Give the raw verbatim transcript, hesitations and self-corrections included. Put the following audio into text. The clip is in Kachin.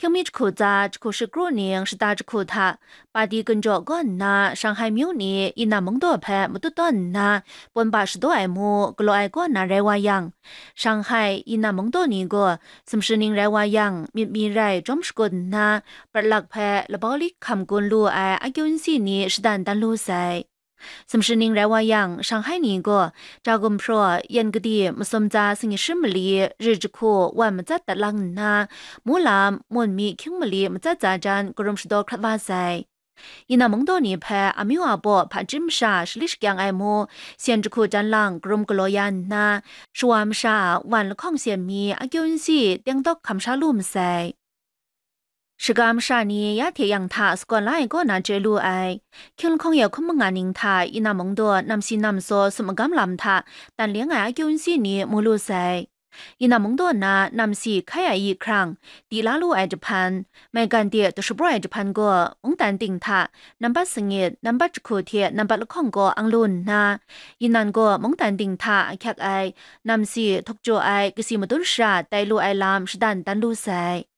Hkying mi jahku tsa jahku shakru ning shata jahku hta, pati gunjaw kaw nna Shanghai myu ni Yinan mungdaw hpe matut tawn nna, pawn ba shadaw ai mu galaw ai kaw na rai wa yang, Shanghai Yinan mungdaw ni gaw sumshi ning rai wa yang, myit mi rai jawm shakut nna, prat lak hpe labau li hkam gun lu ai akyu nsi ni shadan dan lu sai. Sumshi ning rai wa yang, Shanghai ni gaw ja gumhpraw, yan kadi masum tsa sangi shi mali, ri jahku wan matsat dat lang nna, mu lam, mun mi hkying mali matsat tsa jan karum shadaw hkrat wa sai. Yinan mungdaw ni hpe amyu a baw hpa chyim masha shali shakyang ai mu, syen jahku jan lang karum galaw ya nna, shawa masha a wan lahkawng syen mi akyu nsi tengdawk hkam sha lu masai. Shaga masha ni ya hte yang hta sagawn la ai kaw na chye lu ai. Hkying lahkawng ya hkum manga ning hta Yinan mungdaw namsi namsaw sum magam lam hta tan leng ai akyu nsi ni mu lu sai. Yinan mungdaw na namsi hkai ai yi hkrang, di la lu ai jahpan, maigan de dashapraw ai jahpan gaw mungdan ting hta nambat sangit, nambat jahku hte nambat lahkawng gaw ang lu nna, Yinan gaw mungdan ting hta ahkyak ai namsi htuk jaw ai kasi madun shara tai lu ai lam shadan dan lu sai.